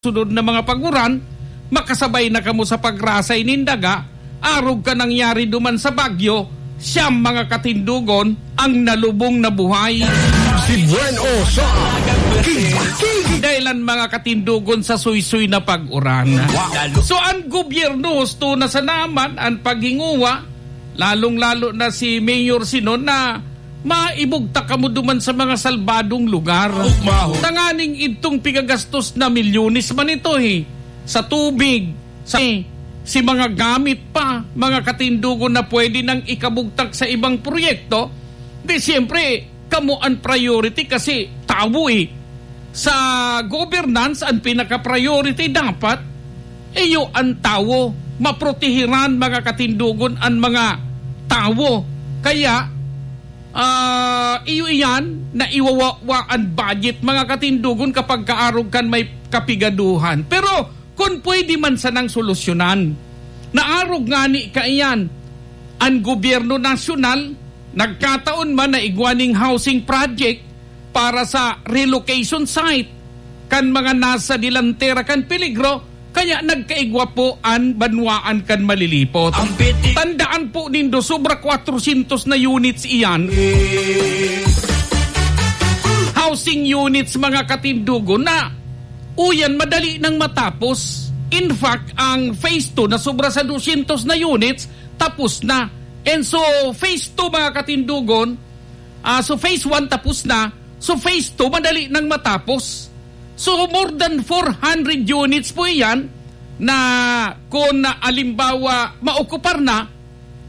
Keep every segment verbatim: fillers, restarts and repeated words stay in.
sunod na mga pag-uran, makasabay na kamo sa pagrasay nin daga, arog kan nangyari duman sa bagyo, siyam mga katindogon ang nalubong na buhay. Si Buen O sa King. Dahil ang mga katindogon sa suysoy na pag-uran. Wow. So, ang gobyerno husto na sana man ang paghinguwa, lalong-lalo na si Mayor Sinon, na maibugtak kamo duman sa mga salbadong lugar. Tanganing idtong pigagastos na milyones man ito, eh, sa tubig, sa, si mga gamit pa, mga katindogon na pwede nang ikabugtak sa ibang proyekto, di siyempre, kamo ang priority kasi tawo, eh. Sa governance, ang pinaka-priority dapat, iyo ang tawo. Maprotehiran, mga katindogon, ang mga tawo. Kaya, ah, iyo iyan na iwawawa ang budget, mga katindogon, kapag kaarog kan may kapigaduhan. Pero kun pwede man sanang solusyonan, naarog ngani kaiyan, ang gobyerno nasyonal, nagkataon man na igwa ning housing project para sa relocation site kan mga nasa delantera kan peligro, kaya nagkaigwa po an banwaan kan malilipot. Ang biti- Tandaan po nindo, sobra kwatrosyentos na units iyan. Housing units, mga katindogon, na uyan, madali nang matapos. In fact, ang phase two na sobra sa dosyentos na units, tapos na. And so, phase two, mga katindogon, ah, so phase one tapos na, so phase two, madali nang matapos. So, more than four hundred units po iyan na kung, alimbawa, maokupar na,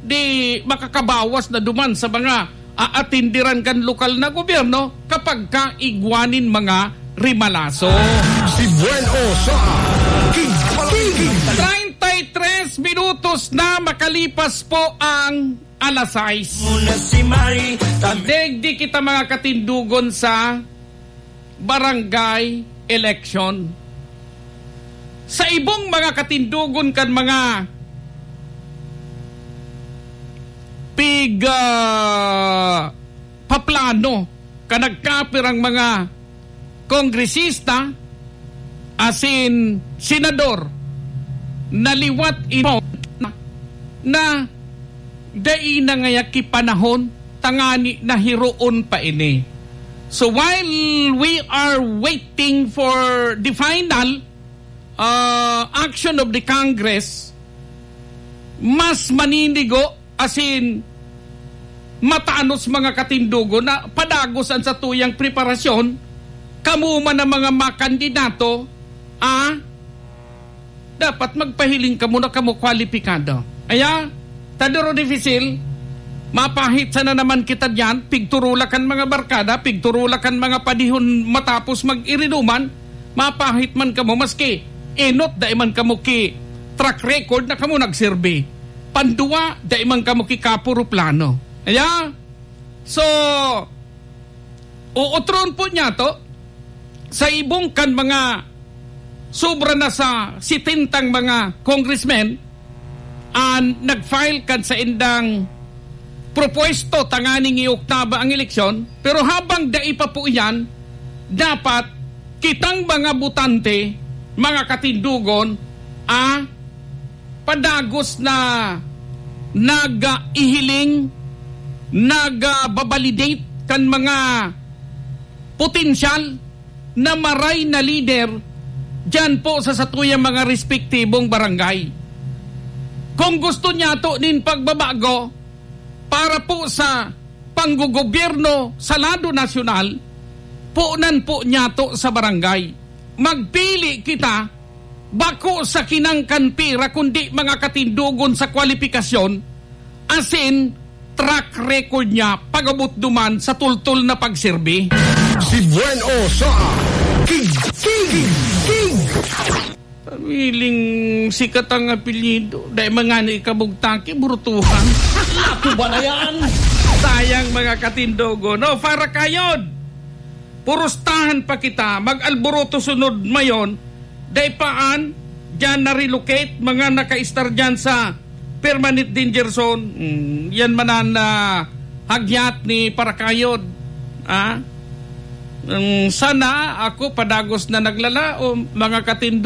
di makakabawas na duman sa mga aatindiran kan lokal na gobyerno kapag kaigwa nin mga rimalaso. Si Buen O sa King. Treinta y tres minutos na makalipas po ang alas sais. Muna si Mari, tam- Digdi kita, mga katindogon, sa barangay election. Sa ibong mga katindogon kan mga pig, ah, paplano kan nagkapirang mga kongresista asin senador na liwat imo na dai na ngaya ki panahon tangani na hiroon pa ini. So while we are waiting for the final, ah, action of the Congress, mas maninigo asin matanos, mga katindogon, na padagos an satuyang preparasyon, kamo man ang mga makandidato, ah, dapat magpahiling kamo na kamo kwalipikado. Aya, Tadoro Difisil, mapahit sana naman kita diyan, pigturula kan mga barkada, pigturula kan mga padihon matapos mag-iriduman, mapahit man kamo, maski enot, dai man kamo ki track record na kamo nagserbi. Pandua, dai man kamo ki kapuro plano. Aya, so, uotron po niya to, sa ibong kan mga sobra na sa setentang mga congressmen, an nag-file kan saindang propuesto tanganing ioktaba ang eleksyon, pero habang dai pa po iyan, dapat kitang mga botante, mga katindogon, ah, padagos na nag-ihiling, nagbabalidate kan mga potensyal na maray na lider diyan po sa satuyang mga respektibong barangay. Kung gusto niyato nin pagbabago para po sa panggogobyerno sa lado nasyonal, punan po niyato sa barangay. Magpili kita, bako sa kinangkan pira, kundi mga katindogon sa kwalipikasyon, asin track record niya pag-abot duman sa tultol na pagserbi. Si Buen O sa King, King, King. Pamiling sikat ang apelyido. Dai man ngani ikabugtaki, burutuhan. Ako ba na yan? Sayang, mga katindogon. No, para kayod. Purustahan pa kita, mag-alboroto sunod mayon, dai pa an, diyan na-relocate, mga naka-estar diyan sa permanent danger zone. Mm, yan man an, ah, hagyat ni Parakayod. Ah? Mm, sana ako padagos na naglalaom, mga katindo.